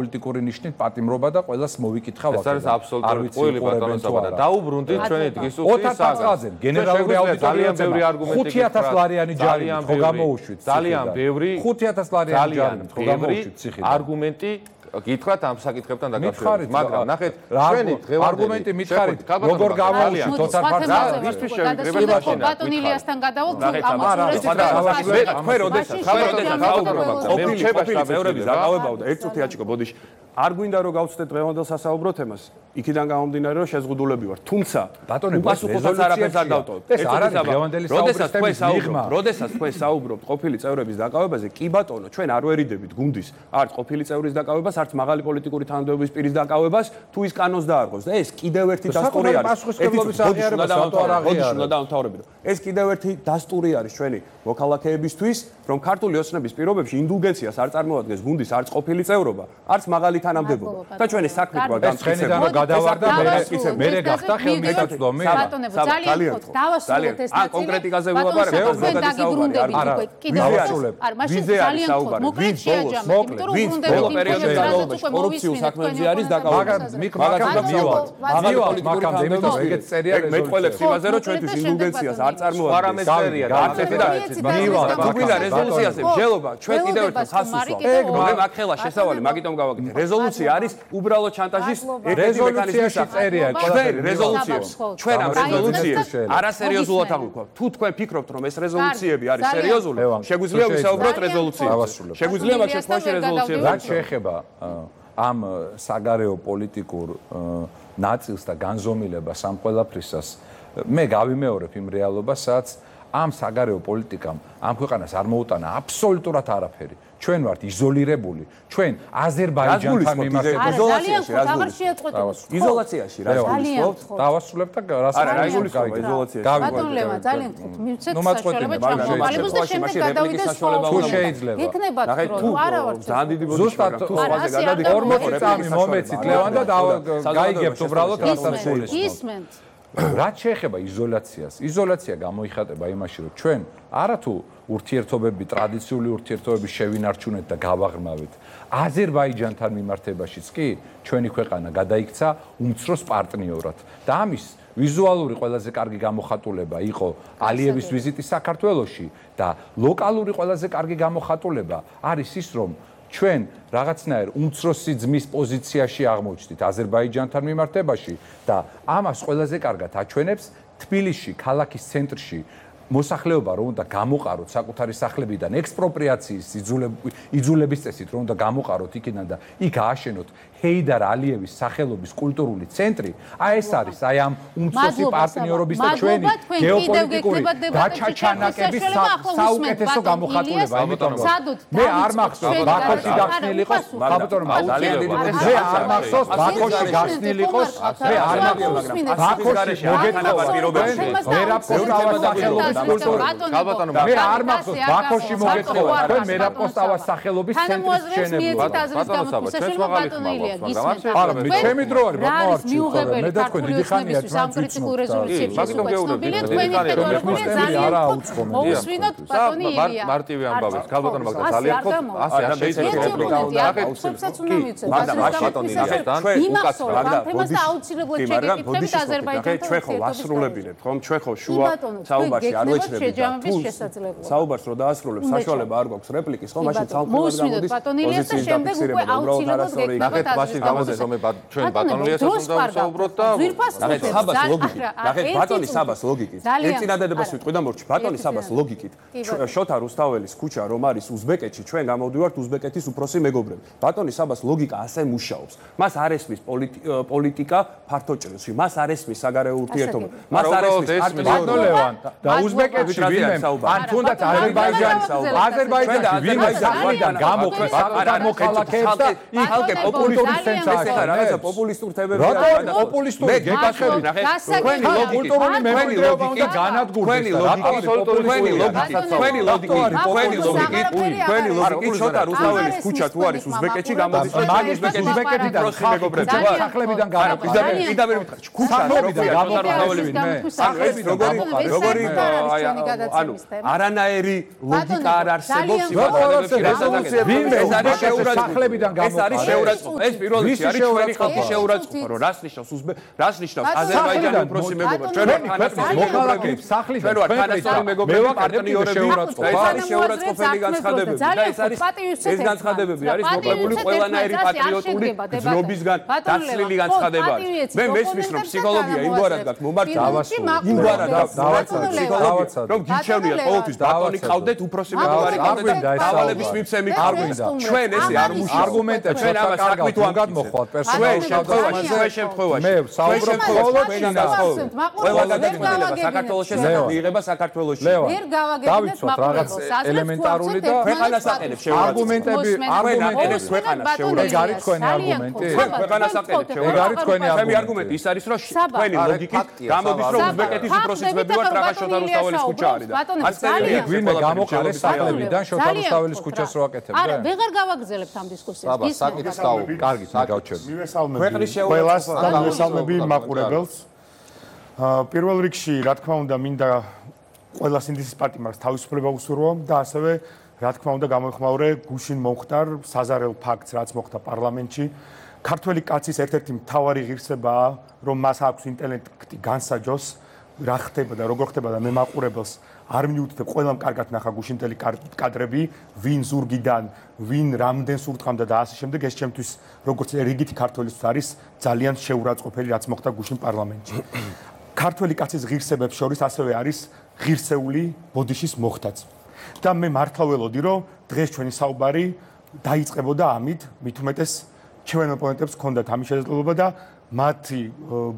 პოლიტიკური ნიშნით პატიმრობა და ყველას მოვიკითხა ვაკე. ეს არის აბსოლუტური ყველი ბატონოსაბა და დაუბრუნდით ჩვენი დღისუფლის საგანზე. გენერალური აუდიტორია ბევრი არგუმენტი 5000 ლარიანი ჯარი ხო გამოუშვით. ძალიან ბევრი 5000 ლარიანი ჯარი ხო გამოუშვით ციხიდან. არგუმენტი გითხრათ ამ საკითხებთან დაკავშირებით, მაგრამ ნახეთ, ჩვენი არგუმენტი მითხარით, როგორ გამოუშვით თოთარ ფარდას, ვისთვის შევიკრიბეთ მაშინ. ბატონ ილიასთან გადავალ თუ თქვენ როდესაც საუბრობთ, მე რჩება მეურების დაკავებაო და ერთ წუთი აჩიკო ბოდიში. არ გვინდა რომ გავცდეთ დღევანდელ სასაუბრო თემას. იქიდან გამომდინარე რომ შეზღუდულები ვარ. თუმცა უპასუხოსაც არაფერს არ დავტოვებთ. ეს არ არის დღევანდელი საუბრის თემა. როდესაც თქვენ საუბრობთ ყოფილი წევრების დაკავებაზე, კი ბატონო, ჩვენ არ ვერიდებით გუნდის არც ყოფილი წევრის დაკავებას, არც მაღალი პოლიტიკური თანამდებობის პირის დაკავებას, თუ ის კანონს დაარღვევს და ეს კიდევ ერთი დასტური არის. ეს კიდევ ერთი დასტური არის ჩვენი მოქალაქეებისთვის, რომ ქართული ოცნების პირობებში ინდულგენციას არ წარმოადგენს გუნდის არც ყოფილი წევრობა, არც მაღალი თანამდებობა. და ჩვენი საქმით ვარ გამწესებული. გადავარდა მე გახდა ხელმისაწვდომი. ბატონებო, ძალიან ხოთ დავასრულოთ ეს ნაწილი. კონკრეტიკაზე ვილაპარაკებ, ვიზე არის საუბარი. ვინ ბოლო პერიოდის განმავლობაში კორუფციულ საქმეებზე არის დაკავებული. მაგამდე იმიტომ ეგეც წერია მეტყველებს იმაზე რომ ჩვენთვის ინდულგენციას არ წარმოადგენს. არამესერია და არც ერთი და ერთი. თუმცა რეზოლუციაზე მსჯელობა ჩვენ კიდევ ერთხელ ხაზს უსვამთ. მე მაგ ხელა შესავალი მაგიტომ გავაკეთე. რეზოლუცია არის უბრალოდ შანტაჟის რეზოლუციაში წერია რეზოლუციებს. ჩვენ ამ რეზოლუციებს არასერიოზულად აღვიქვავთ. თუ თქვენ ფიქრობთ რომ ეს რეზოლუციები არის სერიოზული, შეგვიძლია ვისაუბროთ რეზოლუციებზე. შეგვიძლია მაგ შემთხვევაში რეზოლუციებზე. რაც შეეხება ამ საგარეო პოლიტიკურ ნაწილს და განზომილებას ამ ყველაფრისას, მე გავიმეორებ იმ რეალობას, სადაც ამ საგარეო პოლიტიკამ ამ ქვეყანას არ მოუტანა აბსოლუტურად არაფერი. ჩვენ ვართ იზოლირებული. ჩვენ აზერბაიჯანთან მიმართებით იზოლაციაში რა გულისხმობთ? დავასრულებ და რას იზოლაციაში. ბატონლემა ძალიან ხოთ მივცეთ საშუალება ჩამოყალიბოს და შემდეგ გადავიდეთ თუ შეიძლება. იქნება თუ არა ვარ ძალიან დიდი ბოდიში თუ სხვაზე გადადით 40 წამი მომეცით ლევან და გაიგებთ უბრალოდ რასაც ისმენთ. რაც შეეხება იზოლაციას, იზოლაცია გამოიხატება იმაში, რომ ჩვენ არათუ ურთიერთობები, ტრადიციული ურთიერთობები შევინარჩუნეთ და გავაღრმავეთ. აზერბაიჯანთან მიმართებაშიც კი ჩვენი ქვეყანა გადაიქცა უმცროს პარტნიორად. და ამის ვიზუალური ყველაზე კარგი გამოხატულება იყო ალიევის ვიზიტი საქართველოში და ლოკალური ყველაზე კარგი გამოხატულება არის ის, რომ ჩვენ რაღაცნაირ უმცროსი ძმის პოზიციაში აღმოჩნდით აზერბაიჯანთან მიმართებაში და ამას ყველაზე კარგად აჩვენებს თბილისში, ქალაქის ცენტრში მოსახლეობა რომ უნდა გამოყაროთ საკუთარი სახლებიდან ექსპროპრიაციის იძულების წესით რომ უნდა გამოყაროთ იქიდან და იქ ააშენოთ ჰეიდარ ალიევის სახელობის კულტურული ცენტრი, აი ეს არის აი ამ უმცროსი პარტნიორობის და ჩვენი გეოპოლიტიკური გაჩაჩანაკების საუკეთესო გამოხატულება. ამიტომ მე არ მახსოვს ბაქოში გახსნილი იყოს, ბატონო, მე არ მახსოვს ბაქოში გახსნილი იყოს, მე არ მახსოვს ბაქოში მოგეთხოვა ვერაპოსტავას სახელობის გალბატონო, მე არ მახსოვს ბაქოში მოგეთხოვა თქვენ ვერაპოსტავას სახელობის ცენტრის შენება. არა, მე ჩემი დრო არის, ბატონო, მე და თქვენ დიდი ხანია სამკრიტიკულ რეზოლუციებში უცნობილია თქვენი ხელმძღვანელი არა აუწყობენ. მოусვინოთ ბატონი ილია. მარტივი ამბავი, გალბატონო, მაგდა ძალიან ხო, ასე არ შეიძლება. უცნობსაც უნდა მივცეთ. ბატონი უკაცრავად და თემას აუცილებლად შეგეკითხებით აზერბაიჯანთან. ჩვენ ხო ვასრულებინებთ, ხომ? ჩვენ ხო შუა საუბარში არ ვეჩრებით. საუბარს რო დაასრულებ, საშუალება არ გვაქვს რეპლიკის, ხო? მაშინ ცალკეულად გამოდის პოზიციის დაფიქსირება და უბრალოდ ნახეთ მაშინ გამოდის რომ ჩვენ ბატონლიასაც უნდა ვსაუბროთ და ნახეთ საბას ლოგიკით. ნახეთ ბატონი საბას ლოგიკით. ერთ წინადადებას ვიტყვი და მორჩი ბატონი საბას ლოგიკით. შოთა რუსთაველის ქუჩა რომ არის უზბეკეთში, ჩვენ გამოვდივართ უზბეკეთის უფროსი მეგობრები. ბატონი საბას ლოგიკა ასე მუშაობს. მას არ ესმის პოლიტიკა ფართო ჭრილში, მას არ ესმის საგარეო ურთიერთობა. მას არ ესმის ბატონლევან და უზბეკეთში ვინმე ან თუნდაც აზერბაიჯანში ვინმე საქმიდან გამოყენს საკუთარ მოქალაქეებს და იქ პოპულისტური რაღაცა პოპულისტურ თემებზე რატო პოპულისტური გეკითხები ნახე თქვენი კულტურული მემკვიდრეობა უნდა განადგურდეს თქვენი ლოგიკით შოთა რუსთაველის ქუჩა თუ არის უზბეკეთში გამოდის რომ უზბეკეთიდან მეგობრებს სახლებიდან გამოდის პირდაპირ მითხრა ქუჩა როგორი ანუ არანაირი ლოგიკა არ არსებობს ეს არის სახლებიდან ეს არის შეურაცხყოფა ეს პირველ რიგში არის ჩვენი ხალხის შეურაცხყოფა რომ რას ნიშნავს აზერბაიჯანი უფროსი მეგობრები ჩვენ ვართ თანასწორი მეგობრები ჩვენ ვართ თანასწორი მეგობრები პარტნიორები ეს არის შეურაცხყოფელი განცხადებები და ეს განცხადებები არის მოკლებული ყველანაირი პატრიოტული გზნობისგან დაცლილი განცხადება მე მესმის რომ ფსიქოლოგია იმგვარად გაქვს მომართავ იმგვარად გაქვს რომ გიჩვენიათ ყოველთვის ბატონი ყავდეთ უფროსი მეგობარი ყავდეთ დავალების მიცემი ყავდეთ ჩვენ ესე არ მუშაობთ არგუმენტები ჩვენ ამას საქმით ვანგად მოხვალთ პერსონალურად ჩვენ შემთხვევაში მე საუბრობ ყველა გადაწყვეტილება საქართველოს შესახებ მიიღება საქართველოში ვერ გავაგებინებთ რაღაც ელემენტარული და ქვეყანას აყენებს არგუმენტები აყენებს ქვეყანას ეგ არის თქვენი არგუმენტი ქვეყანას აყენებს ეგ არის თქვენი არგუმენტი ის არის რომ თქვენი ლოგიკით გამოდის რომ უზბეკეთის უფროსი ძმები ვართ რაღაც შოთა რუსთაველის ქუჩა არის და ასწავლია ვინმე გამოყარეს სახლებიდან შოთა რუსთაველის ქუჩას რო აკეთებდა არა ვეღარ გავაგზავნებთ ამ დისკუსიას აბა საკითხს დავუ კარგი გავჩერდ მივესალმები მაყურებელს პირველ რიგში რა თქმა უნდა მინდა ყველა სინდისის პარტიას თავისუფლება უსურვო და ასევე რა თქმა უნდა გამოეხმაურე გუშინ მომხდარ საზარელ ფაქტს რაც მოხდა პარლამენტში ქართველი კაცის ერთ-ერთი მთავარი ღირსებაა რომ მას აქვს ინტელექტი განსაჯოს რა ხდება და როგორ ხდება და მე მაყურებელს არ მიუთითებ ყველამ კარგად ნახა გუშინტელი კადრები ვინ ზურგიდან ვინ რამდენს ურტყამდა და ასე შემდეგ ეს ჩემთვის როგორც რიგითი ქართველისთვის არის ძალიან შეურაცხყოფელი რაც მოხდა გუშინ პარლამენტში ქართველი კაცის ღირსებებს შორის ასევე არის ღირსეული ბოდიშის მოხდაც და მე მართლა ველოდი რომ დღეს ჩვენი საუბარი დაიწყებოდა ამით მით უმეტეს ჩვენ ოპონენტებს ჰქონდათ ამის შესაძლებლობა და მათი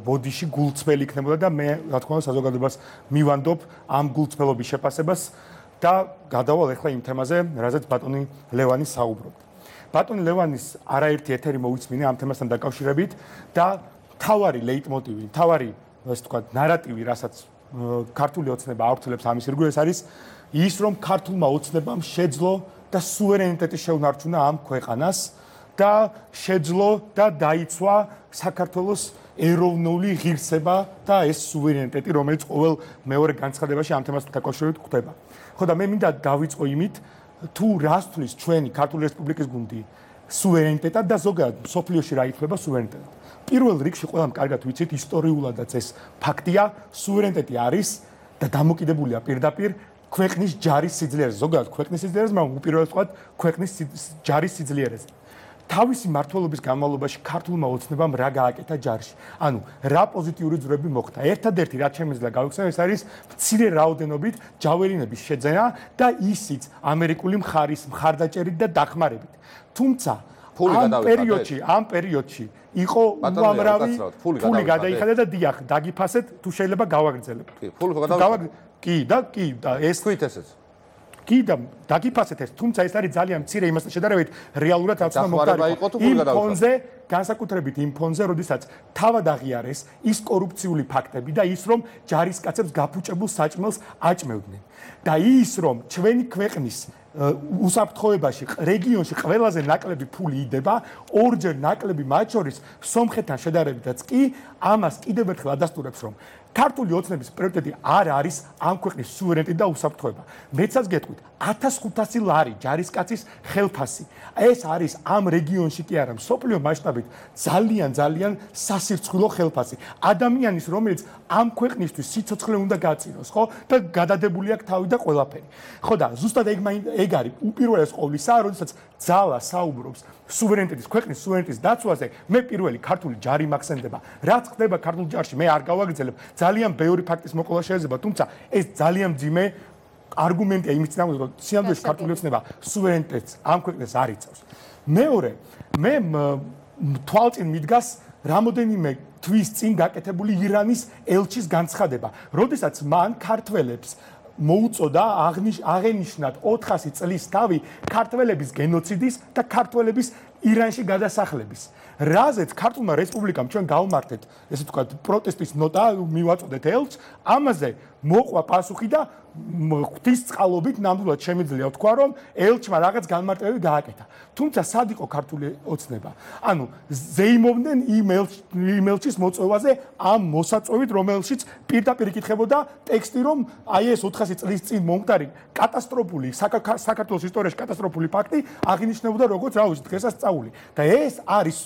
ბოდიში გულწრფელი იქნებოდა და მე რა თქმა უნდა საზოგადოებას მივანდობ ამ გულწრფელობის შეფასებას და გადავალ ახლა იმ თემაზე, რაზეც ბატონი ლევანი საუბრობდა. ბატონი ლევანის არაერთი ეთერი მოვიწმინე ამ თემასთან დაკავშირებით და თავარი ლეიტმოტივი, თავარი ასე ვთქვათ, ნარატივი, რასაც ქართული ოცნება ავრცელებს ამის ირგვლივ ეს არის ის რომ ქართულმა ოცნებამ შეძლო და სუვერენიტეტი შეუნარჩუნა ამ ქვეყანას და შეძლო და დაიცვა საქართველოს ეროვნული ღირსება და ეს სუვერენიტეტი რომელიც ყოველ მეორე განცხადებაში ამ თემასთან დაკავშირებით გვხვდება. ხო და მე მინდა დავიწყო იმით თუ რას თulis ჩვენი ქართული რესპუბლიკის გუნდი სუვერენიტეტად და ზოგადად სოფლიოში რა ითვლება სუვერენიტეტად. პირველ რიგში ყველამ კარგად ვიცით ისტორიულადაც ეს ფაქტია სუვერენიტეტი არის და დამოკიდებულია პირდაპირ ქვეყნის ჯარის სიძლიერეზე ზოგადად ქვეყნის სიძლიერეზე მაგრამ უპირველეს ვთქვათ ქვეყნის ჯარის სიძლიერეზე. თავისი მმართველობის განმავლობაში ქართულმა ოცნებამ რა გააკეთა ჯარში. ანუ რა პოზიტიური ძვრები მოხდა. ერთადერთი რაც შემიძლია გავიხსენო ეს არის მცირე რაოდენობით ჯაველინების შეძენა და ისიც ამერიკული მხარის მხარდაჭერით და დახმარებით. თუმცა ამ პერიოდში იყო უამრავი ფული გადაიხადა და დიახ დაგიფასეთ თუ შეიძლება გავაგრძელებ. კი და ეს თქვით ესეც კი და დაგიფასეთ ეს თუმცა ეს არის ძალიან მცირე იმასთან შედარებით რეალურად რაც უნდა მოხდეს იმ ფონზე განსაკუთრებით იმ ფონზე როდესაც თავად აღიარეს ის კორუფციული ფაქტები და ის რომ ჯარისკაცებს გაფუჭებულ საჭმელს აჭმევდნენ და ის რომ ჩვენი ქვეყნის უსაფრთხოებაში რეგიონში ყველაზე ნაკლები ფული იდება ორჯერ ნაკლები მათ შორის სომხეთთან შედარებითაც კი ამას კიდევ ერთხელ ადასტურებს რომ ქართული ოცნების პრიორიტეტი არ არის ამ ქვეყნის სუვერენიტეტი და უსაფრთხოება. მეცაც გეტყვით 1500 ლარი ჯარისკაცის ხელფასი. ეს არის ამ რეგიონში კი არა, მსოფლიო მასშტაბით ძალიან სასირცხვილო ხელფასი. ადამიანის რომელიც ამ ქვეყნისთვის სიცოცხლე უნდა გაწიროს, ხო? და გადადებული აქვს თავი და ყველაფერი. ხო და ზუსტად ეგ არის უპირველეს ყოვლისა, როდესაც ძალა საუბრობს სუვერენიტეტის ქვეყნის სუვერენიტეტის დაცვაზე, მე პირველი ქართული ჯარი მახსენდება. რაც ხდება ქართულ ჯარში, მე არ გავაგრძელებ. ძალიან ბევრი ფაქტის მოყოლა შეიძლება, თუმცა ეს ძალიან მძიმე არგუმენტია იმის წინააღმდეგ, რომ სიამოვნებაში ქართული ოცნება სუვერენიტეტს ამ ქვეყნებს არ იცავს. მეორე, მე თვალწინ მიდგას რამოდენიმე თვის წინ გაკეთებული ირანის ელჩის განცხადება, როდესაც მან ქართველებს მოუწოდა აღენიშნათ 400 წლის თავი ქართველების გენოციდის და ქართველების ირანში გადასახლების. რაზეც ქართულმა რესპუბლიკამ ჩვენ გავმართეთ, ესე ვთქვათ, პროტესტის ნოტა მივაწოდეთ ელჩს, ამაზე მოყვა პასუხი და ღვთისწყალობით ნამდვილად შემიძლია ვთქვა, რომ ელჩმა რაღაც განმარტებები გააკეთა. თუმცა სად იყო ქართული ოცნება? ანუ ზეიმობდნენ იმ ელჩის მოწვევაზე ამ მოსაწვევით, რომელშიც პირდაპირ იკითხებოდა ტექსტი, რომ აი ეს 400 წლის წინ მომხდარი კატასტროფული საქართველოს ისტორიაში კატასტროფული ფაქტი აღინიშნებოდა როგორც, რა ვიცი, დღესასწაული. და ეს არის